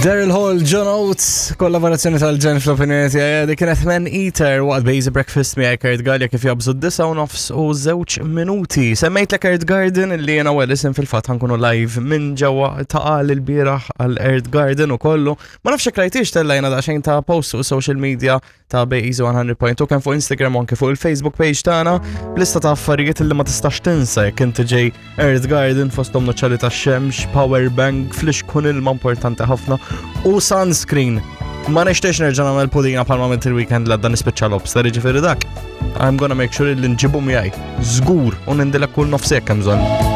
Daryl Hall, John Oates, kollaborazzjoni tal-ġen fl-opinjoni tiegħi dik kienet Man Eater waqt Basic Breakfast miegħi Kurt Gallia kif jabżu d-disa u nofs u żewġ minuti. Semmejt l Earth Garden li jiena u Alison fil-fatt ħankunu live minn ġewwa ta' qal il-bieraħ għal Earth Garden u kollu. Ma nafx jekk rajtix tellajna daqsxejn ta' post fuq social media ta' Bejzu 100.2 kemm fuq Instagram u anke fuq il-Facebook page tagħna b'lista ta' affarijiet li ma tistax tinsa jekk inti ġej Earth Garden fosthom noċċali tax-xemx, power bank, flixkun ilma importanti ħafna u sunscreen. Ma nixtiex nerġa' nagħmel pudina bħalma għamilt il-weekend l għadda nispiċċa lobster, jiġifieri dak. I'm gonna make sure li nġibu miegħi. Żgur u nindilek kull nofsek hemm bżonn.